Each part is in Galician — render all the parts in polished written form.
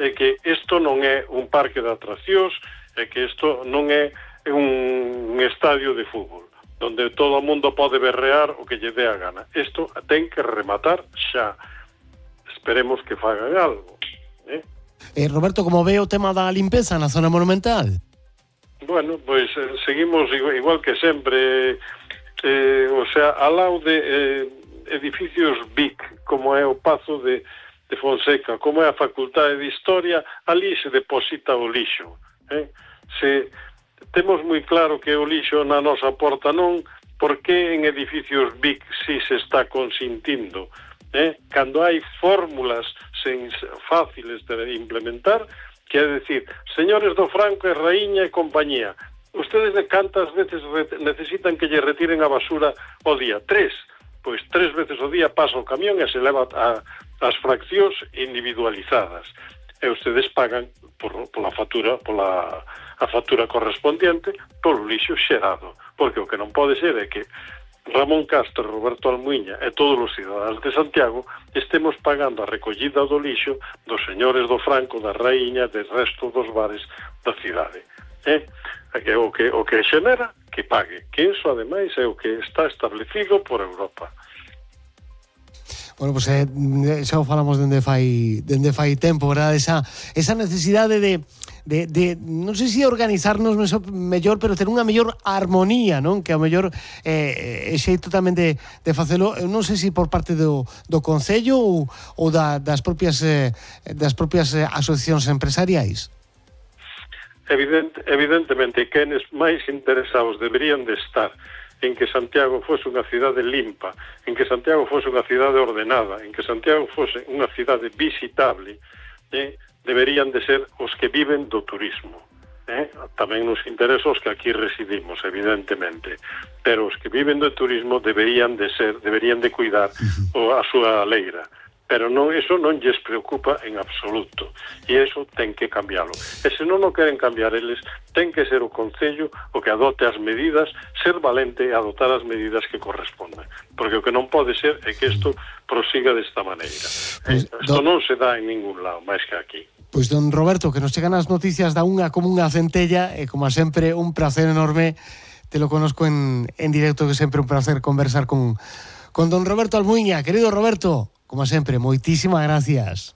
é que isto non é un parque de atraccións, é que isto non é un estadio de fútbol, onde todo o mundo pode berrear o que lle dé a gana. Isto ten que rematar xa. Esperemos que fagan algo. Roberto, como ve o tema da limpeza na zona monumental? Bueno, pois seguimos igual que sempre, o sea, ao lado de edificios BIC, como é o Pazo de Fonseca, como é a Facultade de Historia, ali se deposita o lixo. Se temos moi claro que o lixo na nosa porta non, por que en edificios BIC si se está consintindo? Cando hai fórmulas fáciles de implementar, quer decir, señores do Franco e Raíña e compañía, ustedes de cantas veces necesitan que lle retiren a basura ao día? 3. Pois 3 veces ao día pasa o camión e se leva as fraccións individualizadas. E ustedes pagan pola factura, a factura correspondiente polo lixo xerado. Porque o que non pode ser é que Ramón Castro, Roberto Almuiña e todos os cidadáns de Santiago estemos pagando a recollida do lixo dos señores do Franco, da Raíña, del resto dos bares da cidade. O que xenera, que pague. Que iso, ademais, é o que está establecido por Europa. Bueno, pues xa o falamos dende fai tempo, verdad? Esa necesidade de non sei se organizarnos mellor, pero ter unha mellor armonía, non? Que ao mellor é xeito tamén de facelo, non sei se por parte do Concello ou das propias asociacións empresariais. Evidentemente, quenes máis interesados deberían de estar en que Santiago fose unha cidade limpa, en que Santiago fose unha cidade ordenada, en que Santiago fose unha cidade visitable, deberían de ser os que viven do turismo. Tamén nos interesa os que aquí residimos, evidentemente, pero os que viven do turismo deberían de cuidar a súa leira. Pero eso non lles preocupa en absoluto, e eso ten que cambiarlo. E se non o queren cambiar eles, ten que ser o Concello o que adote as medidas, ser valente e adotar as medidas que corresponden, porque o que non pode ser é que isto prosiga desta maneira. Isto non se dá en ningún lado, máis que aquí. Pois, don Roberto, que nos chegan as noticias da unha como unha centella, e como sempre un placer enorme, te lo conozco en directo, que sempre un placer conversar con don Roberto Almuiña. Querido Roberto, como sempre, moitísimas gracias.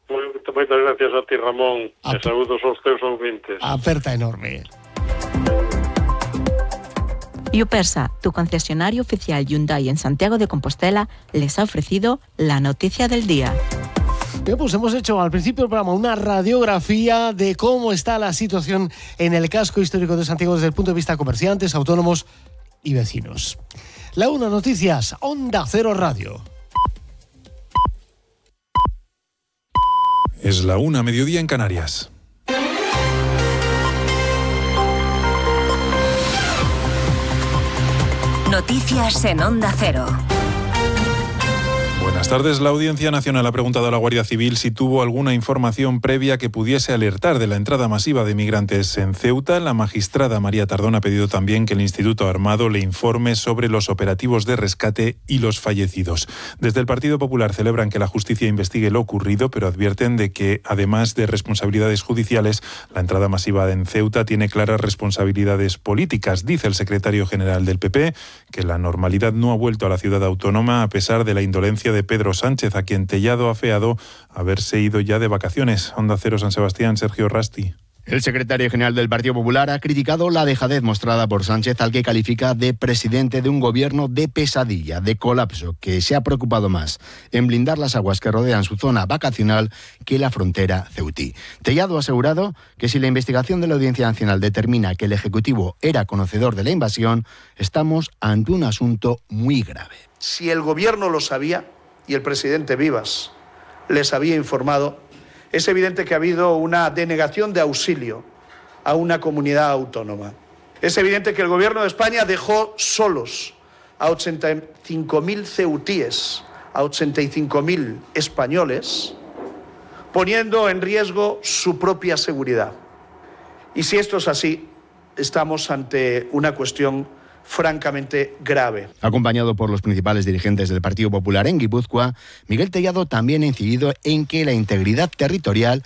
Moitas gracias a ti, Ramón, e saúdos aos teus ouvintes. Aperta enorme. Yupersa, tu concesionario oficial Hyundai en Santiago de Compostela, les ha ofrecido la noticia del día. Bien, pues hemos hecho al principio del programa una radiografía de cómo está la situación en el casco histórico de Santiago desde el punto de vista de comerciantes, autónomos y vecinos. La 1 Noticias, Onda Cero Radio. Es la 1, mediodía en Canarias. Noticias en Onda Cero. Buenas tardes. La Audiencia Nacional ha preguntado a la Guardia Civil si tuvo alguna información previa que pudiese alertar de la entrada masiva de migrantes en Ceuta. La magistrada María Tardón ha pedido también que el Instituto Armado le informe sobre los operativos de rescate y los fallecidos. Desde el Partido Popular celebran que la justicia investigue lo ocurrido, pero advierten de que, además de responsabilidades judiciales, la entrada masiva en Ceuta tiene claras responsabilidades políticas. Dice el secretario general del PP que la normalidad no ha vuelto a la ciudad autónoma a pesar de la indolencia de Pedro Sánchez, a quien Tellado ha afeado haberse ido ya de vacaciones. Onda Cero San Sebastián, Sergio Rasti. El secretario general del Partido Popular ha criticado la dejadez mostrada por Sánchez, al que califica de presidente de un gobierno de pesadilla, de colapso, que se ha preocupado más en blindar las aguas que rodean su zona vacacional que la frontera ceutí. Tellado ha asegurado que si la investigación de la Audiencia Nacional determina que el Ejecutivo era conocedor de la invasión, estamos ante un asunto muy grave. Si el gobierno lo sabía y el presidente Vivas les había informado, es evidente que ha habido una denegación de auxilio a una comunidad autónoma. Es evidente que el Gobierno de España dejó solos a 85.000 ceutíes, a 85.000 españoles, poniendo en riesgo su propia seguridad. Y si esto es así, estamos ante una cuestión francamente grave. Acompañado por los principales dirigentes del Partido Popular en Guipúzcoa, Miguel Tellado también ha incidido en que la integridad territorial